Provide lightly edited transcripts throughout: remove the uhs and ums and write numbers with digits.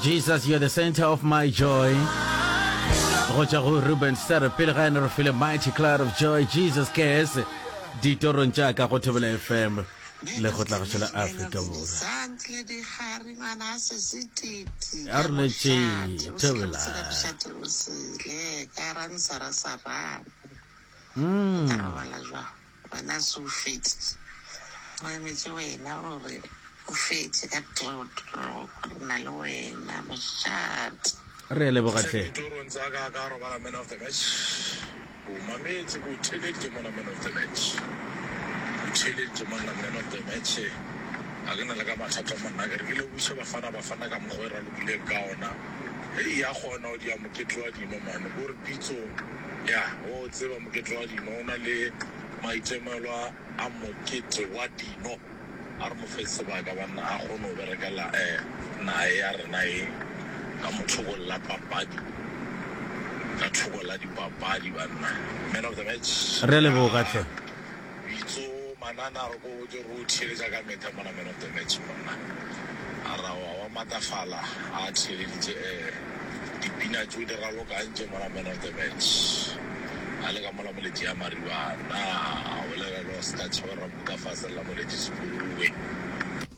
Jesus, you're the center of my joy. Go tšwa go Ruben Sere pele ga ene re file Mighty Cloud of Joy, Jesus Cares, ditorong tša ka go Thobela FM le go tla go tšwela Afrika Borwa. Santle dikgari ngwana a sese titi A ka re letše mošate o Thobela. sele mošate o sele ka ransara sarana o tla robala jwang Wena se o feditše. Go emetše wena gore o fetše ka trotro. Re na le wena, mošate. Re a leboga hle. Ditorong tsa ka ka robala man of the match. Ke o mametse ke o theeleditše mona man of the match. O theeleditše monna man of the match. Ga ke na le ka mathata monna ke re ke lebogiše Bafana Bafana ka mokgwa e ralokileng ka ona. Hei ya kgona go dia mokete wa dino man. Ko re pitso ya o tseba mokete wa dino o na le maitemelo a mokete wa dino. A re mo fe sebaka banna a kgone go berekela nae ya rena ye ka mothoko la papadi ka thoko la dipapadi banna. Man of the match. Re a leboga hle. Bitso Manana a re ko botse re o theeletša ka metha mona man of the match monna a ra wa wa matafala a theeleditše eh dipina tšeo di ralokang tše mona man of the match a le ka mola moletši ya maribana a bolela le go ska tšhaba rabuka fase la moletši sepuruwe.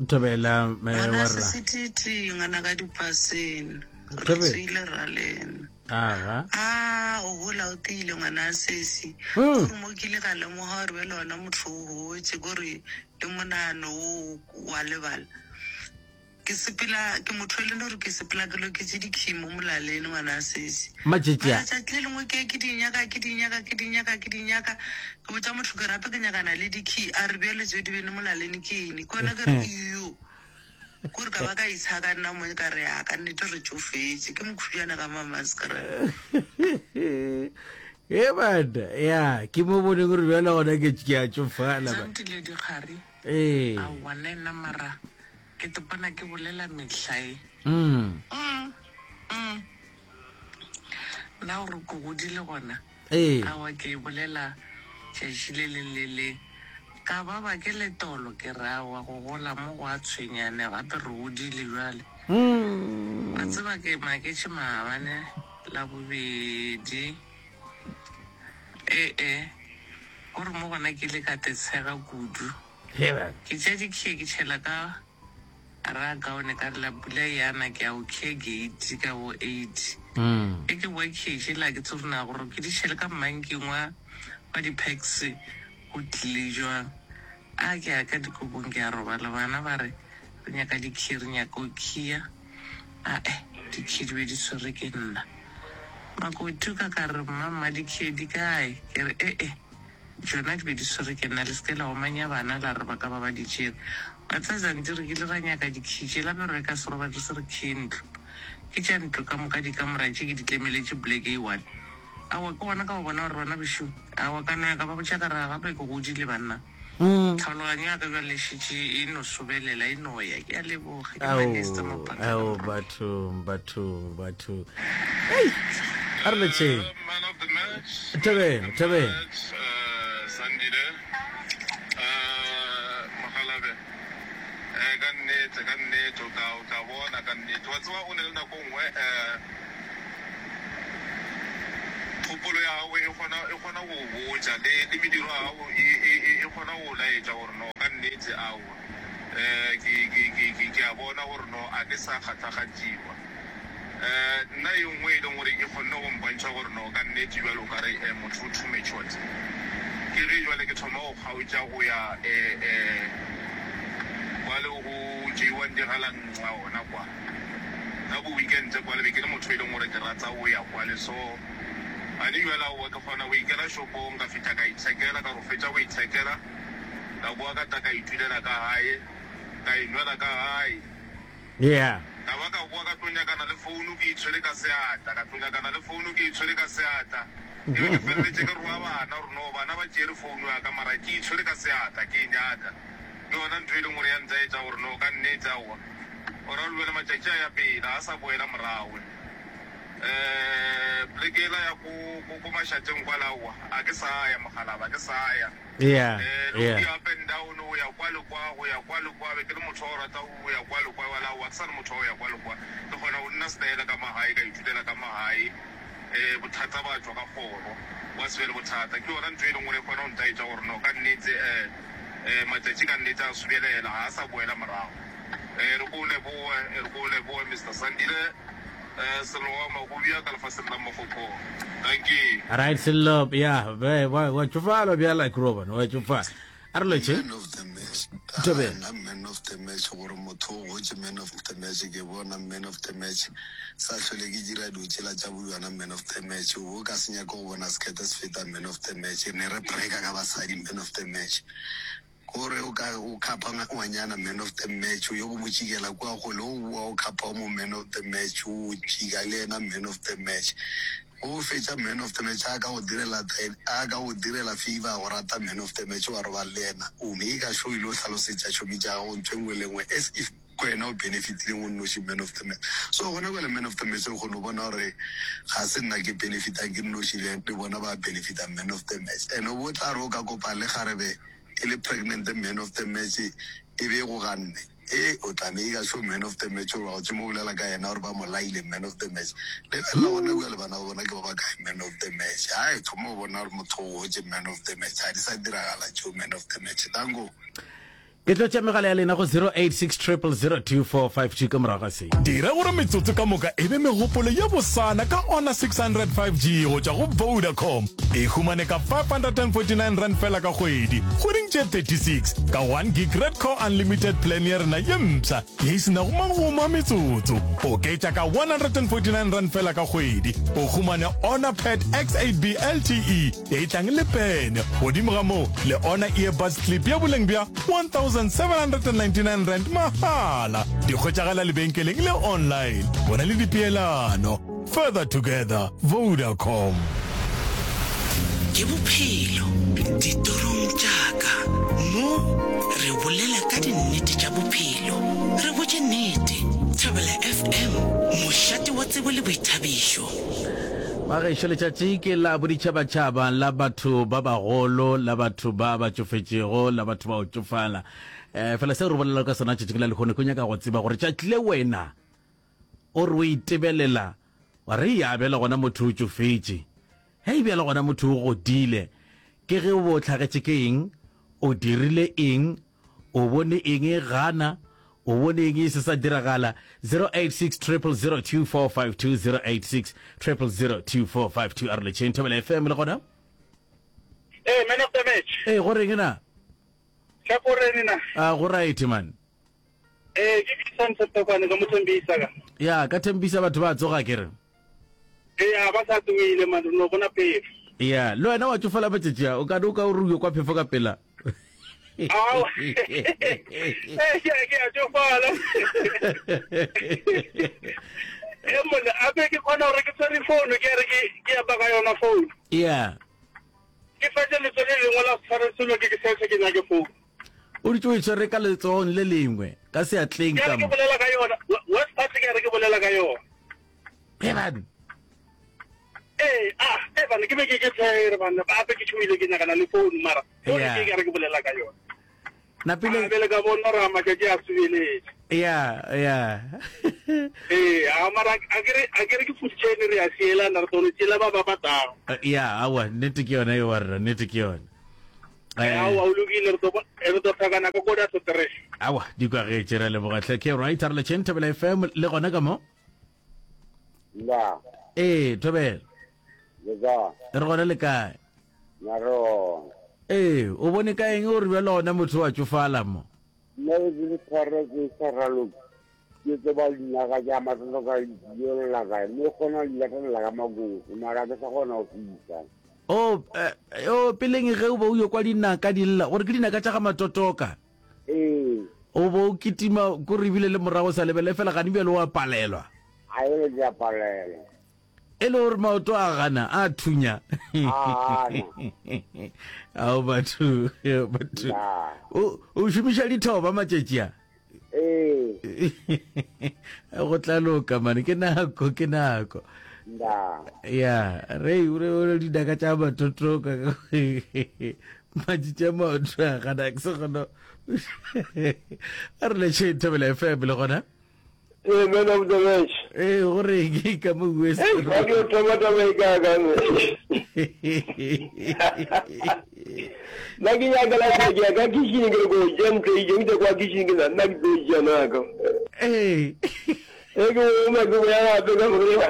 Thobela mme Ngwana wa rra. sesititi ngwana ka dipaseng re Thobela. tswile ra lena. Aga. A o gola o tiile ngwana sesi. Mm. Gore mo ke ile ka lemoga gore bjale ona motho o gotše kore le monagano wo wa lebala. Ke sepela ke motho e leng gore ke sepela ke loketše dikhi mo molaleng ngwana sesi. Matšatši a. Mara tšatši le lengwe ke ke di nyaka ke di nyaka ke di nyaka ke di nyaka ke botša motho ke rape ke nyakana le dikhi a re bjale tšeo di bene molaleng ke eng ke gona ke re iyo. Kore ka ba ka itshaka nna mo ka re ya ka nnete re tšofetše ke mokhubjana ka mamaskra. E bana ya ke mo boneng gore bjale gona ke ke a tšofala ba. Santile dikgari. Ee. Aowa le nna mara ke topana ke bolela mehlae. Mm. Mm. Mm. Nna gore ke godile gona. Ee. Aowa ke e bolela tšatši le leng le leng. Ka ba ba ke letolo ke re aowa go gola mo go a tshwenya ene gape re godile bjale. Wa tseba ke maketše maabane Labobedi. Ee, ko re mo gona ke ile ka te tshega kudu. Ke tšea dikhie ke tšhela ka Ra kaone ka re la pula yana ke a o khe gate ka bo 8. Ge ke boa khe tšela ke tsore na gore ke di tšhele ka mmanking wa wa di packs go tlile jwang. A ke ya ka dikobong ke a robala bana ba re re nyaka di key re nyaka o khiya. Ae di key di be di tshwere ke nna. Makoti ka ka re mma mma di key di kae ke re ee. Tšona di be di swere ke nna. Le se ke la omanya bana la re ba ka ba ba di tšere. Wa tseba Zanti, re kile ra nyaka dikhi tšela me re reka seroba re se re khie ntlo. Ke tša ntlo ka moka dikamora tše ke di tlemeletše poleke e one. Aowa ke gona ka go bona gore bana bešo, aowa ka no ya ka ba botša ka re gape ke godile banna. Tlhaologanyo ya ka bjale e šetše e no sobelela e no ya. Ke a leboga. Ke Ao, Manester Mapakana ao, Morwa. bathong, bathong, bathong. Hei, a re letšeng. Man of the match. Thobela, thobela. Match, uh, Sandile. Uh, Mogalabe. Eh, ka nnete, ka nnete, o tla, o tla bona ka nnete. Wa tseba o ne le nako nngwe, eh, kgopolo ya gago e kgona, e kgona go o botša, le, le mediro ya gago e, e, e, e kgona go o laetša gore no, ka nnete, aowa. Eh, ke, ke, ke, ke, ke a bona gore no, a ke sa kgahlakgatšiwa. Eh, nna ye nngwe e leng gore e kgonne go mpontšha gore no ka nnete bjale o ka re eh, motho o too matured, ke ge jwale ke thoma go kgaotša go ya eh, eh, kwale go tšeiwang digalanxa gona kwa. Ka bo weekend kwale be ke le motho e leng gore ke rata go ya kwale, so gane bjale aowa ke kgona go ikela shopong ka fihla ka ithekela, ka re go fetša go ithekela ka boa ka tla ka itulela ka gae, ka inwela ka gae. Yeah. Ka ba ka boa ka tlo nyakana le founu ke e tshwere ka seatla, ka tlo nyakana le founu ke e tshwere ka seatla. Ke be ke feleletše ke roa bana gore no bana ba tšere founu ya ka mara ke e tshwere ka seatla ke e nyaka. Ke yona ntho e leng gore ya ntaetša gore no ka nnete aowa o ra gore bjale matšatši a ya pele ga a sa boela morago. Um poleke yela ya ko, ko, ko mašateng kwale aowa a ke sa ya Mokgalaba, a ke sa ya. Yeah, Eh, le go yeah. di up and down, go ya kwa le kwa, go ya kwa le kwa, be ke le motho wa go rata go ya kwa le kwa, bjale aowa, ke sa le motho wa go ya kwa le kwa. Ke kgona go nna stayela ka magae, ka itulela ka magae, eh, bothata ba tšwa ka kgoro, gwa se be le bothata. Ke yona ntho e leng gore e kgona go ntaetša gore no, ka nnete, eh, eh, matšatši ka nnete a subelela, ga a sa boela morago. Eh, re ko o leboge, re ko o leboge, Mister Sandile. Eh, Sello wa Magubia ka lefaseng la Mokgokong. Dankie. Right, Sello, ya, be, wa, wa tšofala bjala, Groban, wa tšofala. A re lotšhe. Man of the match. Thobela. Ah, nna man of the match gore motho o gotše man of the match ke bona man of the match sa hlole ke dira dilo tšela tša boyona man of the match o bo ka se nyake go bona sekete se feta man of the match ne re breaka ka basadi man of the match Gore o ka o khapha ngwanyana man of the match o yo go mo tšikela kua kgole o boa o khapha o mo man of the match o tšika le yena man of the match ge o fetša man of the match a ka go direla a ka go direla favor a go rata man of the match wa robala le yena o make sure o ile o hlalosetša tšhomi tša gago ntho e nngwe le nngwe as if ke wena o benefitileng o nnoši man of the match so gona bjale man of the match re kgone go bona gore ga se nna ke benefitang ke nnoši le bona ba benefita man of the match and o bo tla re o ka kopa le kgarebe e le pregnant man of the match e be e go ganne e o tla make sure man of the match gore wa go tsoma o bolela ka yena gore ba mo laile man of the match lebelela gona bjale bana ba bona ke ba ba kae man of the match hai thoma o bona gore motho o gotše man of the match ga di sa diragala tšeo man of the match danko. Ke tlo tšea megala ya lena go 086 0002452 ka morago ga se. Dira gore metsotso ka moka e be megopolo ye bosana ka Honor 600 5G go tšwa go Vodacom. E humane ka R549 fela ka kgwedi, kgweding tše 36, ka 1 gig Red Core Unlimited plan ya rena ye mpsha ye e se nago magomo a metsotso. Oketša ka R149 fela ka kgwedi, o humane Honor Pad X8B LTE ye e tlang le pene. Godimo ga moo, le Honor Earbuds Clip ya boleng bja R1799 mahala. Di hwetšagala lebenkeleng le online. Bona le dipeelano. Further together, Vodacom. Ke bophelo ditorong tša ka. Mo re bolela ka dinnete tša bophelo. Re botše nnete. Thobela FM, mošate wa tsebo le boithabišo. Bagešo, letšatši ke la boditšhabatšhaba la batho ba bagolo, la batho ba ba tšofetšego, la batho ba go tšofala. Um fela seo re bolelago ka sona tšatšing la lehono ke nyaka go tseba gore tšatši le wena o re o itebelela wa re ya bjale gona motho o tšofetše, hei bjale gona motho o godile, ke ge o bo o hlagetše ke eng, o dirile eng, O bone eng e gana? O bone eng e se sa diragala? 086 000 2452 086 000 2452 a re letšheng Thobela FM le gona. Hey, man of the match. Ee, go reng na? Hlakoreng na? A go right man. Eh, ke Vincent Tokwane ka mo Thembisa ka. Ya, ka Thembisa batho ba tsoga ke re. Eya, ba sa tsogile man, re no bona phefo. Ya, le wena wa tšofala matšatši a, o ka no ka o re o yo kwa phefo ka pela. Ao. Eh, ke ke a tšofala. Eh, monna, ape ke kgona gore ke tshwere founu ke re ke ke apa ka yona founu. Ya. Ke fetše letsogo le lengwe la se tshware selo ke ke setse ke nyake founu. O dutše o e tshwere ka letsogong le lengwe, ka seatleng Ke ka re ke mo. bolela ka yona. Worst part ke re ke bolela ka yona. Eban. Ee, ah, e bana ke be ke ke tshwere bana, gape ke tšhoile ke nyakana le phone mara phone Yeah. ke ke re ke bolela ka yona. Napile A bele ka bona gore a matšatši a subeletše. ya ya. Ee, a mara a ke re a ke re ke food chain re a sielana re tlo tšela ba ba batang. Ya, awa, nnete ke yona e wa rra, nnete ke yona. Eh, aowa o lokile re tlo re tlo hlakana ka koda to three. Awa, di kwagetše re leboga hle. Ke right, re letšheng Thobela FM le gona ka mo. Nda. Ee, Thobela. Le kae? Re gona le kae? Na re gona. Ee, o bone ka eng o re bjalo gona motho wa tšofala mo? Nna be ke le tshware ke sa raloke. Ke tseba dinaga tša matlotlo ka yolla kae mme kgona di latelela ka makoso mara ke sa kgona go fihla. O, eh, o peleng ge o be o yo kwa dinaka di lla, gore ke dinaka tša ga Matotoka. Ee. O bo o kitima ko re ebile le morago sa lebele fela gane bjale o a palelwa. A e le ke a palelwa. E le gore maoto a gana a thunya. A gana. Ao batho, batho. O o šomiša dithoba matšatši a. Ee. Go tla loka mane ke nako ke nako. Nda. Ya, re o re dinaka tša matotoka. Matšitši a maoto a gana ke se kgona. A re letšhe Thobela FM le gona. Ee, man of the match. Ee, gore ke ka mo West. Hey, ba ke thoma taba e ka ka. Nna ke nyaka la ke ya ka kitchen ke re go ja ntlo e jeng kwa kitchen ke nna ke tlo ja na ka. Ee. E ke o ma ke ya gape ka gore ba.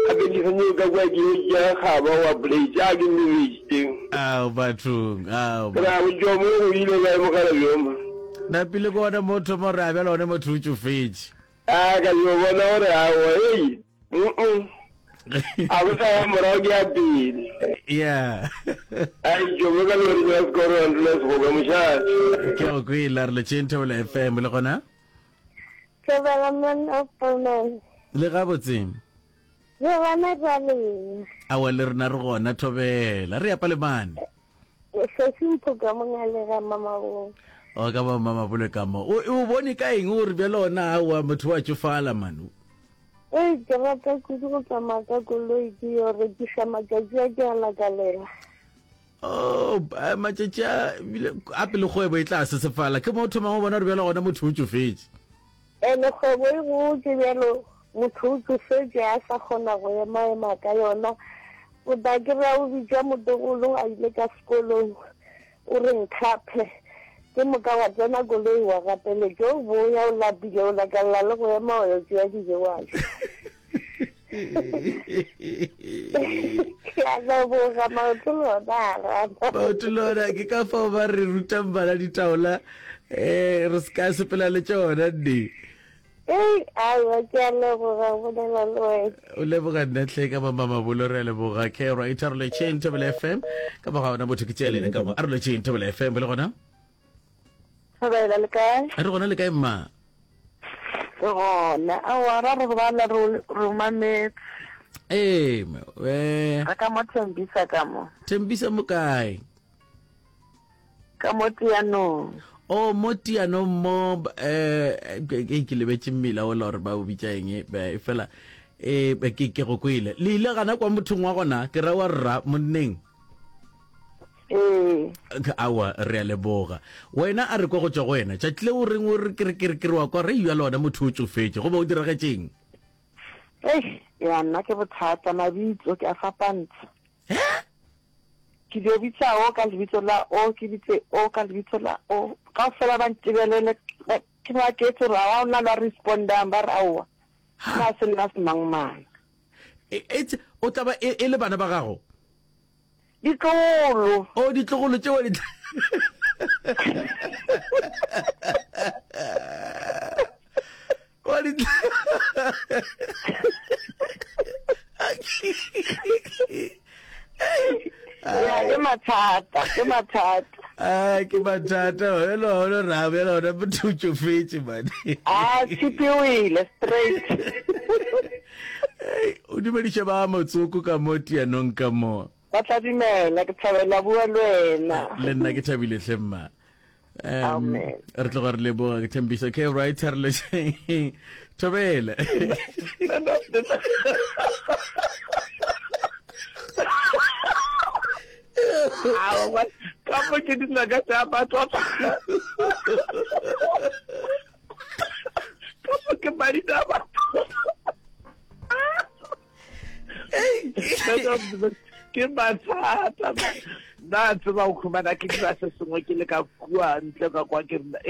Gape ke sanye ka kwa ke ja ga ba wa plate a ke mme teng. Ao bathong, ao. Ra go jo mo go ile ka mogala bjo ma. Napile ko ona motho mo re abela one motho o tšofetše. A ka yo bona gore aowa ei. Mm. A go sa ya morago ke ya pele. Yeah. Ai jo mo ka lori ya sekoro wa ntlo se go mošate. Ke go kwela re letšeng Thobela FM le gona. Thobela man of the man. Le gabotse. Re gona jwale. Awa le rena re gona Thobela. Re ya Palemane. Sesi Mpho ka mongale ga Mamabolo. O ka ba Mamabolo ka mo. O o bone ka eng o re bjale ona aowa motho wa tšofala man. Ee, ke rata kudu go tsamaya ka koloi ke yo rekiša matšatši a ke a lakalela. Oh, matšatši a bile a pele kgwebo e tla sesefala ke mo o thomang o bona gore bjale gona motho o tšofetše. Ene kgwebo e gotše bjalo motho o tšofetše a sa kgona go ema-ema ka yona. O tla kry-a o bitša motlogolo a ile ka sekolong o re nkgaphe, ke moka wa tsena koloi wa gapeletša o boya o lapile o lakalela le go ema wa yo tšea dijo wa ja. Ke a leboga maoto le ona a rata. Maoto le ona ke ka fao ba re rutang bana ditaola um re se ka sepela le tšona nne. Ei, aowa, ke a leboga go bolela le wena. O leboga nna hle ka mama mabolo re a leboga ke right a re letšheng Thobela FM ka moga ona motho ke tšea lena ka mo a re letšheng Thobela FM le gona Thobela le kae? Re gona le kae mma? Re gona. Aowa ra re bala re re mametse. Ee, eh. Re ka mo Thembisa ka mo. Thembisa mo kae? Ka mo Tianong. Oh, mo Tianong mo eh ke ke lebetše mmila o la gore ba o bitša eng e fela eh ke ke go kwele. Le ile gana kwa mothong wa gona ke ra wa rra monneng. Ee. Aowa re a leboga. Wena a re kwa go tšwa go wena. Tšatši le o reng o re ke re ke re ke re wa kwa re bjalo wena motho o tšofetše goba o diragetšeng? Eish, ya nna ke bothata mabitso ke a fapantsha. Ke dio bitsa o ka lebitso la o, ke bitse o ka lebitso la o. Kaofela ba ntebelele, ke maketse gore ga gona le a respondang, ba re aowa, nna se nna semangmang. E, o tla ba e, e le bana ba gago? Ditlogolo. O ditlogolo tšeo di Wa di Ya, ke mathata, ke mathata. Ah, ke mathata. Hello, hello, ra, hello, hello, motho o tšofetše man. Ah, tshipi o ile straight. Hey, o dumediše ba motsoko ka mo tianong ka mo. Ba tla dumela, ke thabela bua le wena. Le nna ke thabile hle mma. Um, Amen. Re tloga re leboga ke thembiso ke right re le thobela. Aowa, ka mo ke dinaka tša batho ka mo ke madina a batho ke mathata nna tseba go khumana ke dira se sengwe ke le ka kua ntle ka kwa ke rena.